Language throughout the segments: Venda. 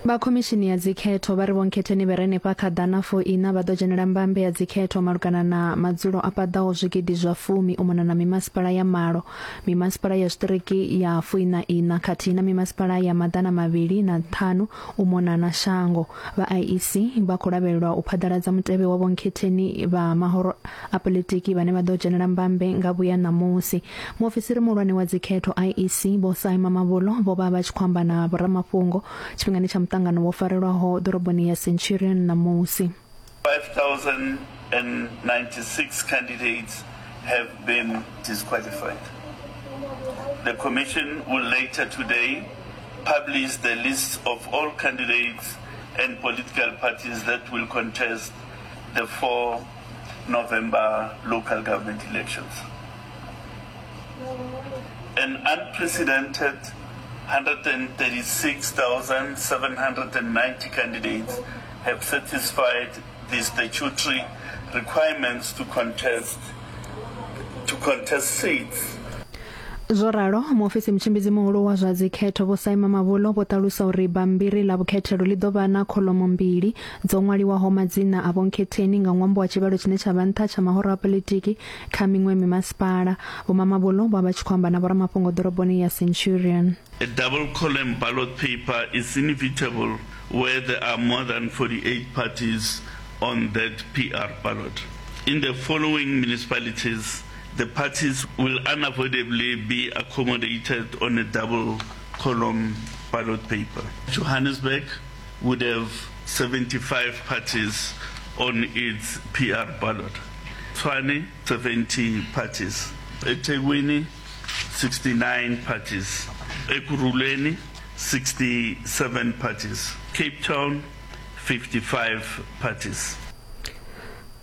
Vha khomishini ya dzikhetho vha ri Vho Nkhetheni vhe re henefha kha ḓana fu iṋa vha ḓo dzhenela mbambe ya dzikhetho malugana na madzulo a paḓaho zwigidi zwa fumi u mona na mimasipala ya malo, mimasipala ya zwiṱiriki ya fuiṋa iṋa khathihi na mimasipala ya maḓana mavhili na ṱhanu u mona na shango. Vha IEC vha khou lavhelelwa u phaḓaladza mutevhe wa Vho Nkhetheni vha mahoro a poḽitiki vhane vha ḓo dzhenela mbambe nga vhuya ṋamusi. Muofisiri muhulwane wa dzikhetho IEC Vho Sy Mamabolo vho vha vha tshi khou amba na vhoramafhungo tshifhingani tsha muṱangano wo farelwaho ḓoroboni ya Centurion ṋamusi. 5,096 candidates have been disqualified. The Commission will later today publish the lists of all candidates and political parties that will contest the 4 November local government elections. An unprecedented 136,790 candidates have satisfied the statutory requirements to contest to contest seats. Zwo ralo, muofisi mutshimbidzi muhulu wa zwa dzikhetho Vho Saima Mavhulo vho ṱalusa uri bammbiri ḽa vhukhethelo ḽi ḓo vha na kholomo mbili dzo ṅwaliwaho madzina a vhonkhetheni nga ṅwambo wa tshivhalo tshine tsha vha nṱha tsha mahoro a poḽitiki kha miṅwe mimasipala. Vho Mamabolo vho vha vha tshi khou amba na vhoramafhungo ḓoroboni ya Centurion. A double column ballot paper is inevitable where there are more than 48 parties on that PR ballot. In the following municipalities, the parties will unavoidably be accommodated on a double column ballot paper. Johannesburg would have 75 parties on its PR ballot. Tshwane, 70 parties. eThekwini, 69 parties. Ekurhuleni, 67 parties. Cape Town, 55 parties.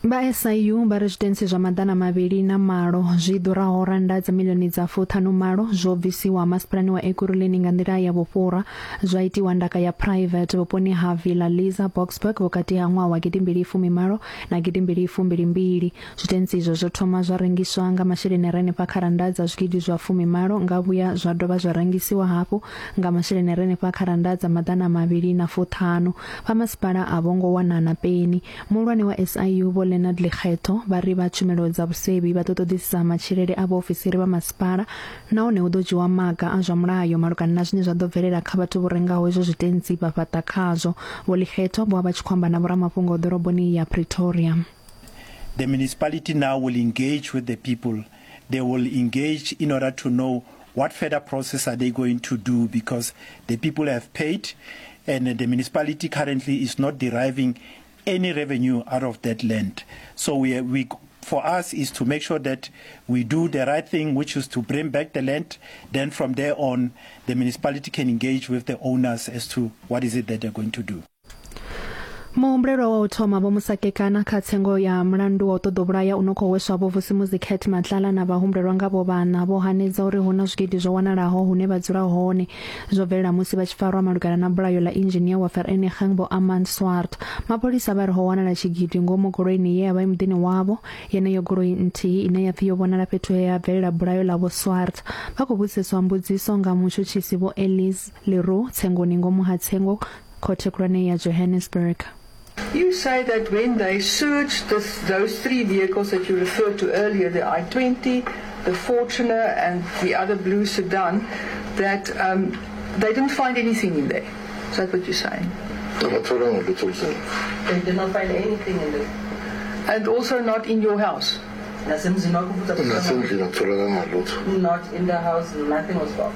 Vha SIU vha ri zwitentsi zwa 208 zwi ḓuraho rannda dza miḽioni dza fuṱhanu malo zwo bvisiwa masipalani wa Ekurhuleni nga nḓila ya vhufhura zwa itiwa ndaka ya private vhuponi ha Villa Liza Boksburg vhukati ha ṅwaha wa gidimbili fumi malo na gidimbili fumbili mbili. Zwitentsi izwo zwo thoma zwa rengiswa nga masheleni a re henefha kha rannda dza zwigidi zwa fumi malo nga vhuya zwa dovha zwa rengisiwa hafhu nga masheleni a re henefha kha rannda dza maḓana mavhili na fuṱhanu. Vha masipala a vho ngo wana na peni. Muhulwane wa SIU Vho Leonard Lekgetho vha ri vha tshumelo dza vhusevhi vha ḓo ṱoḓisisa matshilele a vhaofisiri vha masipala nahone hu ḓo dzhiwa maga a zwa mulayo malugana na zwine zwa ḓo bvelela kha vhathu vho rengaho izwo zwitentsi vha fhaṱa khazwo. Vho Lekgetho vho vha vha tshi khou amba na vhoramafhungo ḓoroboni ya Pretoria. The municipality now will engage with the people. They will engage in order to know what further process are they going to do because the people have paid and the municipality currently is not deriving any revenue out of that land. So we, we for us is to make sure that we do the right thing, which is to bring back the land. Then from there on, the municipality can engage with the owners as to what is it that they're going to do. Muhumbulelwa wa u thoma Vho Musakekana kha tsengo ya mulandu wa u ṱoḓa u vhulaya u no khou hweswa Vho Vusimuzi Cat Matlala na vhahumbulelwa ngavho vhaṋa vho hanedza uri hu na zwigidi zwo wanalaho hune vha dzula hone. Zwo bvelela musi vha tshi farwa malugana na bulayo ḽa inzhinia wa Vereeniging Vho Armand Swart. Mapholisa vha ri ho wanala tshigidi ngomu goloini ye ya vha i muḓini wavho. Yeneyo goloi nthihi ine ya pfi yo vhonala fhethu he ha bvelela bulayo ḽa Vho Swart. Vha khou vhudziseswa mbudziso nga mutshutshisi Vho Elise Le Roux tsengoni ngomu ha tsengo Khothe khulwane ya Johannesburg. You say that when they searched this, those three vehicles that you referred to earlier, the i20, the Fortuner and the other blue sedan, that um, they didn't find anything in there. Is that what you're saying? Abatholanga lutho emzini. They did not find anything in there. And also not in your house? Nasemzini wakho futhi akutholakala. Nasendlini akutholakanga lutho. Not in the house, nothing was found.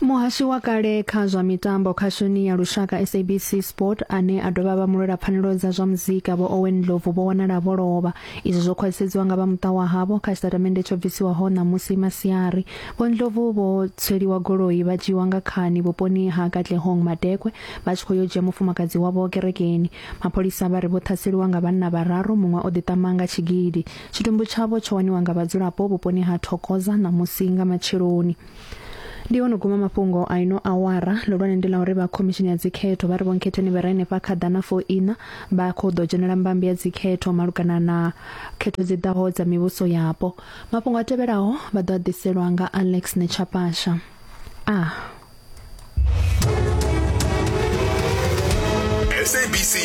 Muhashi wa kale kha zwa mitambo khashoni ya lushaka SABC Sport ane a dovha vha mulwela pfanelo dza zwa muzika Vho Owen Ndlovu vho wanala vho lovha. Izwi zwo khwaṱhisedziwa nga vha muṱa wa havho kha tshitatamennde tsho bvisiwaho ṋamusi masiari. Vho Ndlovu vho tsweliwa goloi vha dzhiiwa nga khani vhuponi ha Katlehong Madekwe vha tshi khou yo dzhia mufumakadzi wavho kerekeni. Mapholisa vha ri vho ṱhaseliwa nga vhanna vhararu muṅwe o ḓiṱama nga tshigidi. Tshitumbu tshavho tsho waniwa nga vhadzulapo vhuponi ha Thokoza ṋamusi nga matsheloni. Ndi ho no guma mafhungo a ino awara. Ḽihulwane ndi ḽa uri vha khomishini ya dzikhetho vha ri Vho Nkhetheni vha re henefha kha ḓana fo iṋa vha khou ḓo dzhenela mbambe ya dzikhetho malugana na khetho dzi ḓaho dza mivhuso yapo. Mafhungo a tevhelaho vha ḓo a ḓiselwa nga Alex Nechapasha. A. SABC News.